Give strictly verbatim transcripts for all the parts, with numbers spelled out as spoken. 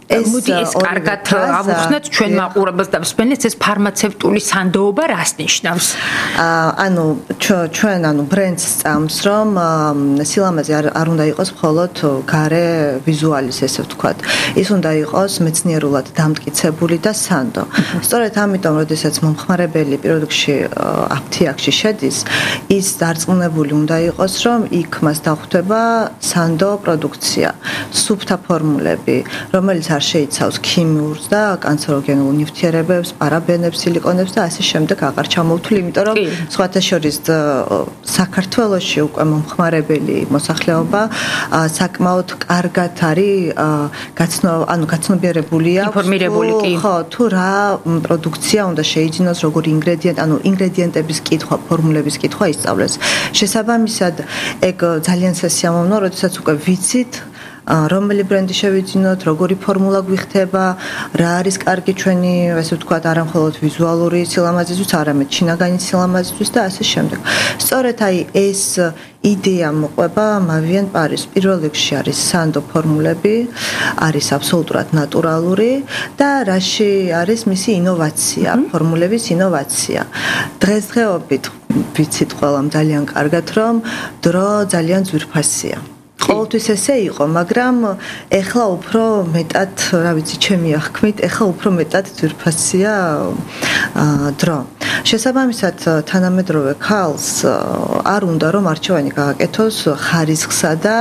მოდი ეს კარგად ავუხსნათ ჩვენ მაყურებელს და მსმენელს ეს ფარმაცევტული სანდოობა რას ნიშნავს? ანუ ჩვენ ანუ ბრენდს წამს რომ სილამაზე არ უნდა იყოს მხოლოდ გარე ვიზუალის ესე ვთქვათ. ის უნდა იყოს მეცნიერულად დამტკიცებული და სანდო. სწორედ ამიტომ როდესაც მომხმარებელი პროდუქტში აფთიაქში შედის, ის დარწმუნებული უნდა იყოს რომ იქ მას დახვდება სანდო პროდუქცია, სუფთა ფორმულები, რომელიც არ შეიცავს ქიმიურს და კანცეროგენულ ნივთიერებებს, პარაბენებს, სილიკონებს და ასე შემდეგ აღარ ჩამოვთვლი, იმიტომ რომ სხვათა შორის საქართველოში უკვე მომხმარებელი მოსახლეობა საკმაოდ კარგად არის გაცნო, ანუ გაცნობიერებულია, ინფორმირებული კი. ხო, თუ რა პროდუქცია უნდა შეიძინოს, როგორი ინგრედიენტი, ანუ ინგრედიენტების კითხვა, ფორმულების კითხვა ისწავლეს. შესაბამისად, ეგ ძალიან სასიამოვნოა, როდესაც უკვე ვიცით რომელი ბრენდი შევიძინოთ, როგორი ფორმულა გვიხდება, რა არის კარგი ჩვენი, ასე ვთქვათ, არა მხოლოდ ვიზუალური სილამაზისთვის, არამედ შინაგანი სილამაზისთვის და ასე შემდეგ. სწორედ აი ეს იდეა მოყვება Mavient Paris. პირველ რიგში არის სანდო ფორმულები, არის აბსოლუტურად ნატურალური და რაში არის მისი ინოვაცია, ფორმულების ინოვაცია. დღესდღეობით ვიცით ყველამ ძალიან კარგად, რომ დრო ძალიან ძვირფასია. ყოველთვის ესე იყო, მაგრამ ეხლა უფრო მეტად, რა ვიცი, ჩემი აღქმით, ეხლა უფრო მეტად ძვირფასია დრო. შესაბამისად, თანამედროვე ქალს არ უნდა რომ არჩევანი გააკეთოს ხარისხსა და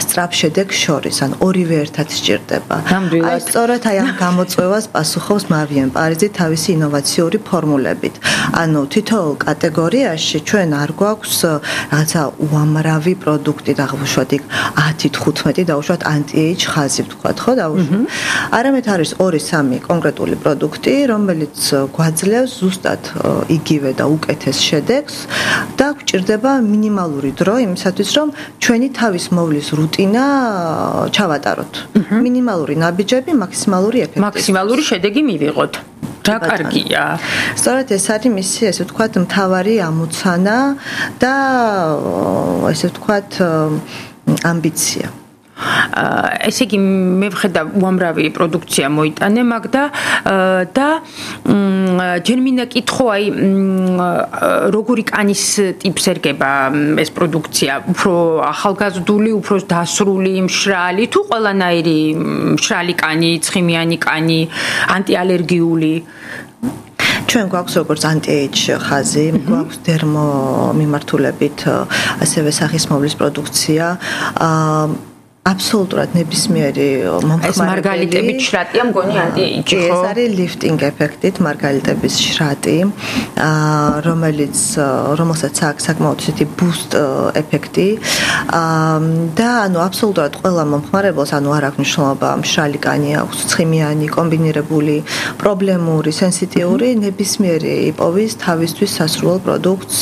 სწრაფ შედეგს შორის, ან ორივე ერთად სჭირდება. აი სწორედ აი ამ გამოწვევას პასუხობს Mavient Paris თავისი ინოვაციური ფორმულებით. ანუ თითოეულ კატეგორიაში ჩვენ არ გვაქვს რაღაცა უამრავი პროდუქტი დაგვუშვათ იქ ათი თხუთმეტი დაუშვათ anti-age ხაზი ვთქვათ, ხო დაუშვათ. არამედ არის ორი სამი კონკრეტული პროდუქტი, რომელიც გვაძლევს ზუსტად იგივე და უკეთეს შედეგს და გვჭირდება მინიმალური დრო იმისათვის, რომ ჩვენი თავის მოვლის რუტინა ჩავატაროთ. მინიმალური ნაბიჯები, მაქსიმალური ეფექტი. მაქსიმალური შედეგი მივიღოთ. რა კარგია. სწორედ ეს არის მისი, ესე ვთქვათ, მთავარი ამოცანა და ესე ვთქვათ ამბიცია. ესე იგი მე ვხედავ უამრავი პროდუქცია მოიტანე მაგ და და ჯერ მინდა კითხო აი როგორი კანის ტიპს ერგება ეს პროდუქცია, უფრო ახალგაზრდული, უფრო დასრული, მშრალი თუ ყველანაირი მშრალი კანი, ცხიმიანი კანი, ანტიალერგიული? ჩვენ გვაქვს როგორც anti-age ხაზი, გვაქვს დერმო მიმართულებით ასევე სახისმოვლის პროდუქცია. აბსოლუტურად ნებისმიერი მომხმარებელი. ეს მარგალიტებით შრატია მგონი anti-age, ხო? ეს არის lifting ეფექტით მარგალიტების შრატი, რომელიც რომელსაც აქვს საკმაოდ ისეთი boost ეფექტი. და ანუ აბსოლუტურად ყველა მომხმარებელს, ანუ არ აქვს მნიშვნელობა მშრალი კანი აქვს, ცხიმიანი, კომბინირებული, პრობლემური, სენსიტიური, ნებისმიერი იპოვის თავისთვის სასურველ პროდუქტს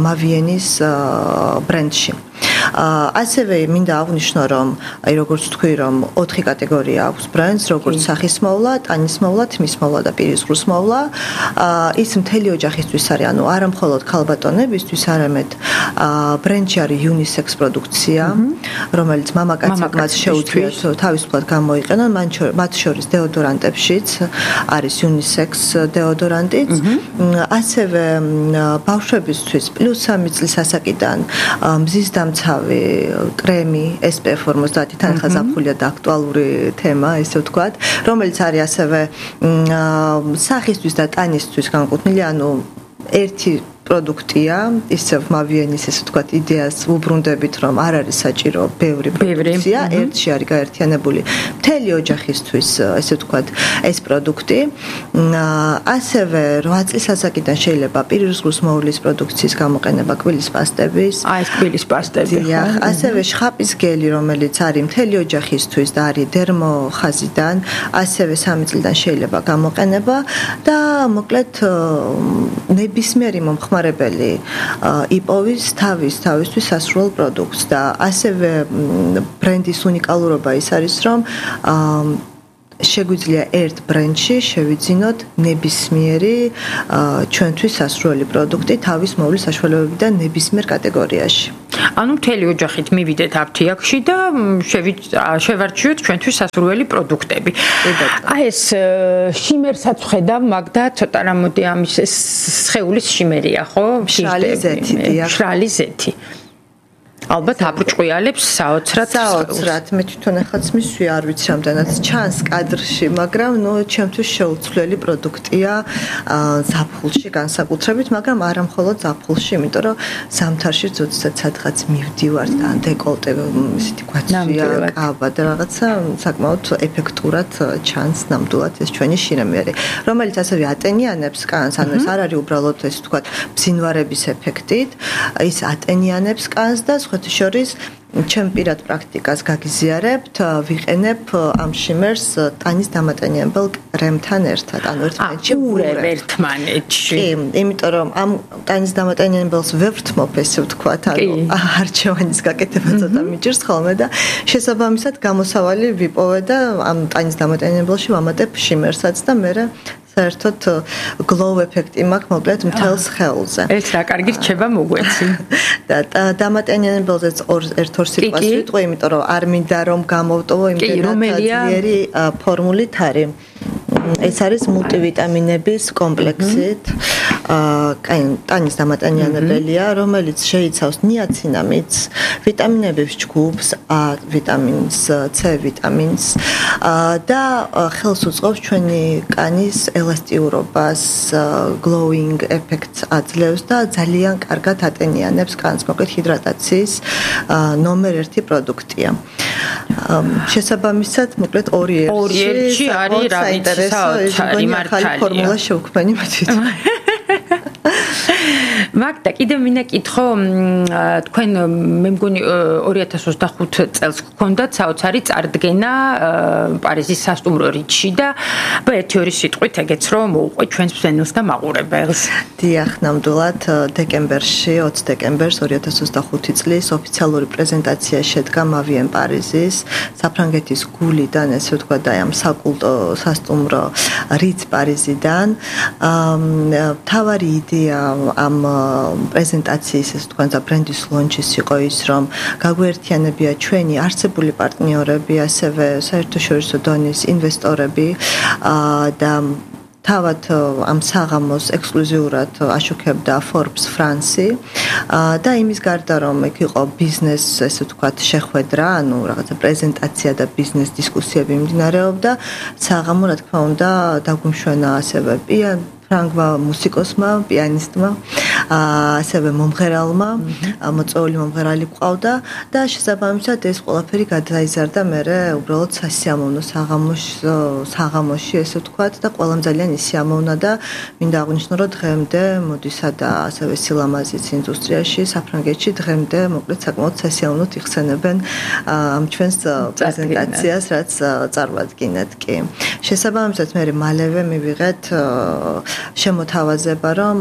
Mavient-ის ბრენდში. ასევე მინდა აღვნიშნო, რომ აი როგორც თქვი, რომ ოთხი კატეგორია აქვს ბრენდს, როგორც სახისმოვლა, ტანისმოვლა, თმისმოვლა და პირისყრუსმოვლა. ის მთელი ოჯახისთვის არის, ანუ არა მხოლოდ ქალბატონებისთვის, არამედ ბრენდში არის unisex პროდუქცია, რომელიც მამაკაცებმაც შეუძლიათ თავისუფლად გამოიყენონ, მათ შორის დეოდორანტებშიც არის unisex დეოდორანტიც. ასევე ბავშვებისთვის პლუს სამი წლის ასაკიდან მზის დამცავი კრემი S P F ორმოცდაათი თან ხა ზაფხულია და აქტუალური თემა, ესე ვთქვათ, რომელიც არის ასევე სახისთვის და ტანისთვის განკუთვნილი, ანუ ერთი პროდუქტია, ისევ Mavient-ის ესე ვთქვათ იდეას უბრუნდებით, რომ არ არის საჭირო ბევრი პროდუქცია, ერთში არის გაერთიანებული მთელი ოჯახისთვის, ესე ვთქვათ, ეს პროდუქტი. ასევე რვა წლის ასაკიდან შეიძლება პირისყრუს მოვლის პროდუქციის გამოყენება, კბილის პასტების. აი ეს კბილის პასტები. ასევე შხაპის გელი, რომელიც არის მთელი ოჯახისთვის და არის დერმო ხაზიდან, ასევე სამი წლიდან შეიძლება გამოყენება და მოკლედ ნებისმიერი მომხმარებელი იპოვის თავის თავისთვის სასურველ პროდუქტს და ასევე ბრენდის უნიკალურობა ის არის, რომ შეგვიძლია ერთ ბრენდში შევიძინოთ ნებისმიერი ჩვენთვის სასურველი პროდუქტი თავის მოვლის საშუალებებიდან ნებისმიერ კატეგორიაში. ანუ მთელი ოჯახით მივიდეთ აფთიაქში და შევარჩიოთ ჩვენთვის სასურველი პროდუქტები. აი ეს შიმერსაც ხედავ, მაგდა ცოტა რამოდი ამის სხეულის შიმერია, ხო? მშრალი ზეთი, დიახ. მშრალი ზეთი. ალბათ აბრჭყიალებს საოცრად საოცრად მე თვითონ ახაც მისვი არ ვიცი რამდენად ჩანს კადრში, მაგრამ ნუ ჩემთვის შეუცვლელი პროდუქტია ზაფხულში განსაკუთრებით, მაგრამ არა მხოლოდ ზაფხულში, იმიტომ რომ ზამთარში ზოგადად სადღაც მივდივარ ან დეკოლტე ისეთი გვაცვია კაბა და რაღაცა საკმაოდ ეფექტურად ჩანს ნამდვილად ეს ჩვენი შინამიერი, რომელიც ასევე ატენიანებს კანს, ანუ ეს არ არის უბრალოდ ეს თქვა ბზინვარების ეფექტით, ის ატენიანებს კანს და შორის ჩემ პირად პრაქტიკას გაგიზიარებთ, ვიყენებ ამ შიმერს ტანის დამატენიებელ კრემთან ერთად, ანუ ერთმანეთში ურევ ერთმანეთში. კი, იმიტომ რომ ამ ტანის დამატენიებელს ვერ ვთმობ, ესე ვთქვათ, ანუ არჩევანის გაკეთება ცოტა მიჭირს ხოლმე და შესაბამისად გამოსავალი ვიპოვე და ამ ტანის დამატენიებელში ვამატებ შიმერსაც და მე საერთოდ glow ეფექტი მაქვს მოკლედ მთელ სხეულზე. ეს რა კარგი რჩება მოგვეცი. და დამატენიებელზეც ერთ-ორ სიტყვას ვიტყვი, იმიტომ რომ არ მინდა რომ გამოვტოვო იმდენად ძლიერი ფორმულით არის. ეს არის მულტივიტამინების კომპლექსით. აი, ტანის დამატენიანებელია, რომელიც შეიცავს ნიაცინამიდს, ვიტამინების ჯგუფს, A ვიტამინს, C ვიტამინს და ხელს უწყობს ჩვენი კანის ელასტიურობას, glowing effects აძლევს და ძალიან კარგად ატენიანებს კანს, მოკლედ ჰიდრატაციის ნომერ ერთი პროდუქტია. შესაბამისად, მოკლედ ორი ერთში არის რა ვიცი საოცარი მართალია. ფორმულა შევქმნი მე თვითონ. მაგდა კიდევ მინდა კითხო, თქვენ მე მგონი ორი ათას ოცდახუთ წელს გქონდათ საოცარი წარდგენა პარიზის სასტუმრო რიჩში და ერთი ორი სიტყვით ეგეც რომ მოუყვე ჩვენს მსმენელს და მაყურებელს. დიახ, ნამდვილად დეკემბერში, ოცი დეკემბერს ორი ათას ოცდახუთი წლის ოფიციალური პრეზენტაცია შედგა მავიენ პარიზის საფრანგეთის გულიდან, ესე ვთქვა და ამ საკულტო სასტუმრო რიც პარიზიდან. თავარი იდეა ამ პრეზენტაციის ეს თქვენ და ბრენდის ლონჩის იყო ის, რომ გაგვერთიანებია ჩვენი არსებული პარტნიორები, ასევე საერთაშორისო დონის ინვესტორები და თავად ამ საღამოს ექსკლუზიურად აშუქებდა Forbes France და იმის გარდა რომ იქ იყო ბიზნეს, ესე ვთქვათ, შეხვედრა, ანუ რაღაცა პრეზენტაცია და ბიზნეს დისკუსიები მიმდინარეობდა, საღამო რა თქმა უნდა დაგვიმშვენა ასევე პიან ფრანგმა მუსიკოსმა, პიანისტმა, ასევე მომღერალმა, მოწვეული მომღერალი ყავდა და შესაბამისად ეს ყველაფერი გადაიზარდა მერე უბრალოდ სასიამოვნო საღამოში, საღამოში ესე ვთქვათ და ყველამ ძალიან ისიამოვნა და მინდა აღვნიშნო, რომ დღემდე მოდისა და ასევე სილამაზის ინდუსტრიაში, საფრანგეთში დღემდე მოკლედ საკმაოდ სასიამოვნოდ იხსენებენ ამ ჩვენს პრეზენტაციას, რაც წარმოადგენთ კი. შესაბამისად მე მალევე მივიღეთ შემოთავაზება, რომ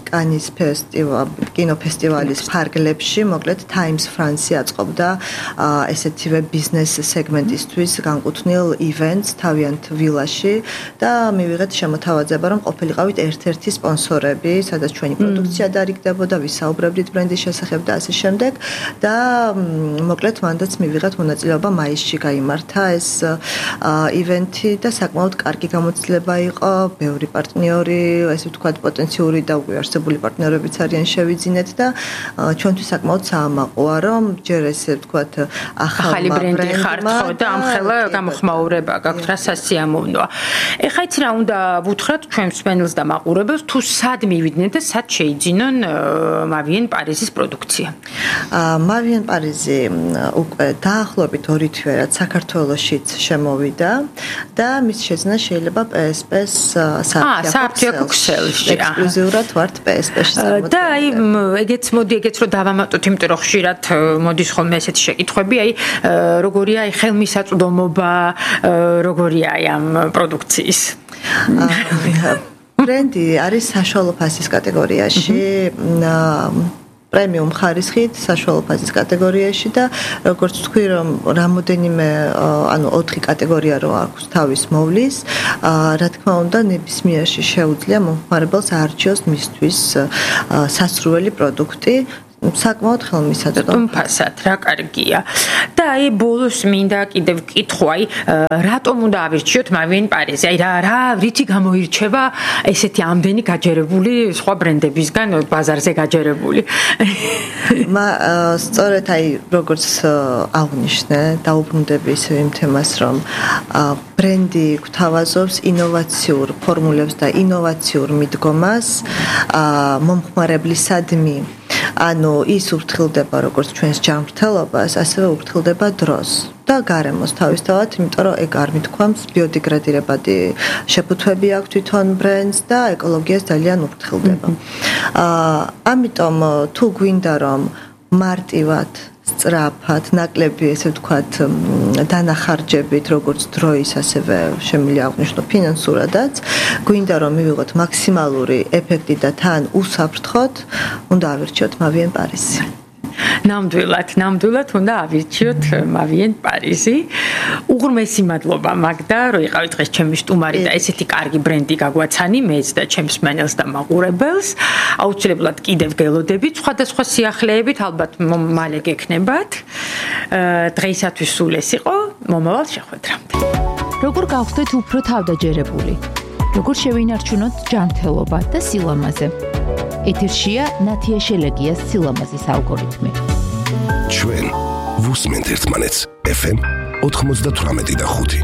კანის ფესტივალი, კინოფესტივალის ფარგლებში, მოკლედ Times France აწყობდა ესეთივე ბიზნეს სეგმენტისთვის განკუთვნილ ივენტს თავიანთ ვილაში და მივიღეთ შემოთავაზება, რომ ყოფილიყავით ერთ-ერთი სპონსორები, სადაც ჩვენი პროდუქცია დარიგდებოდა, ვისაუბრებდით ბრენდის შესახებ და ასე შემდეგ და მოკლედ მანდაც მივიღეთ მონაწილეობა მაისში გაიმართა ეს ივენთი და საკმაოდ კარგი გამოცდილება იყო, ბევრი პარტნიორი, ესე ვთქვათ, პოტენციური და უკვე არსებული პარტნიორებიც არიან შევიძინეთ და ჩვენთვის საკმაოდ საამაყოა, რომ ჯერ ესე ვთქვათ, ახალი ბრენდი ხართ ხო და ამხელა გამოხმაურება გაქვთ, რა სასიამოვნოა. ეხლა იცი რა უნდა ვუთხრათ ჩვენ მსმენელს და მაყურებელს, თუ სად მივიდნენ და სად შეიძინონ მავიენ პარიზის პროდუქცია. მავიენ პარიზი უკვე დაახლოებით ორი თვე რაც საქართველოშიც შემოვიდა და მის შეძენა შეიძლება პე ეს პე-ს საფრანგეთის ქსელში ექსკლუზიურად ვართ პე ეს პე-ში და აი ეგეც მოდი ეგეც რომ დავამატოთ, იმიტომ რომ ხშირად მოდის ხოლმე ესეთი შეკითხვები, აი როგორია აი ხელმისაწვდომობა, როგორია აი ამ პროდუქციის. ბრენდი არის საშუალო ფასის კატეგორიაში. პრემიუმ ხარისხით საშუალო ფაზის კატეგორიაში და როგორც თქვი რომ რამოდენიმე ანუ ოთხი კატეგორია რო აქვს თავის მოვლის, რა თქმა უნდა ნებისმიერში შეუძლია მომხმარებელს აარჩიოს მისთვის სასურველი პროდუქტი საკმაოდ ხელმისაწვდომი. სტუმფასად, რა კარგია. და აი ბოლოს მინდა კიდევ ვკითხო, აი რატომ უნდა ავირჩიოთ მავიენ პარიზი? აი რა რა რითი გამოირჩევა ესეთი ამდენი გაჯერებული სხვა ბრენდებისგან ბაზარზე გაჯერებული? მა სწორედ აი როგორც აღნიშნე, დაუბრუნდები ისევ იმ თემას, რომ ბრენდი გვთავაზობს ინოვაციურ ფორმულებს და ინოვაციურ მიდგომას მომხმარებლისადმი. ანუ ის ურთხილდება როგორც ჩვენს ჯანმრთელობას, ასევე ურთხილდება დროს და გარემოს თავისთავად, იმიტომ რომ ეგ არ მithქვამს ბიოდეგრადირებადი შეფუთვები აქვს თვითონ ბრენდს და ეკოლოგიას ძალიან ურთხილდება. აა ამიტომ თუ გვინდა რომ მარტივად სწრაფად, ნაკლები, ესე ვთქვათ, დანახარჯებით, როგორც დროის, ასევე შემიძლია აღვნიშნო ფინანსურადაც, გვინდა რომ მივიღოთ მაქსიმალური ეფექტი და თან უსაფრთხოდ, უნდა ავირჩიოთ მავიენ პარიზი. ნამდვილად, ნამდვილად უნდა ავირჩიოთ მავიენ პარიზი. უღრმესი მადლობა მაგდა, რომ იყავით დღეს ჩემი სტუმარი და ესეთი კარგი ბრენდი გაგვაცანი მეც და ჩემს მენელს და მაყურებელს. აუცილებლად კიდევ გელოდებით სხვადასხვა სიახლეებით, ალბათ მალე გექნებათ. დღეისათვის სულ ეს იყო, მომავალ შეხვედრამდე. როგორ გავხდეთ უფრო თავდაჯერებული? როგორ შევინარჩუნოთ ჯანმრთელობა და სილამაზე? ეთერშია ნათია შელეგიას სილამაზის ალგორითმი. ჩვენ ვუსმენთ ერთმანეთს ეფ ემ ოთხმოცდათვრამეტი და ხუთი.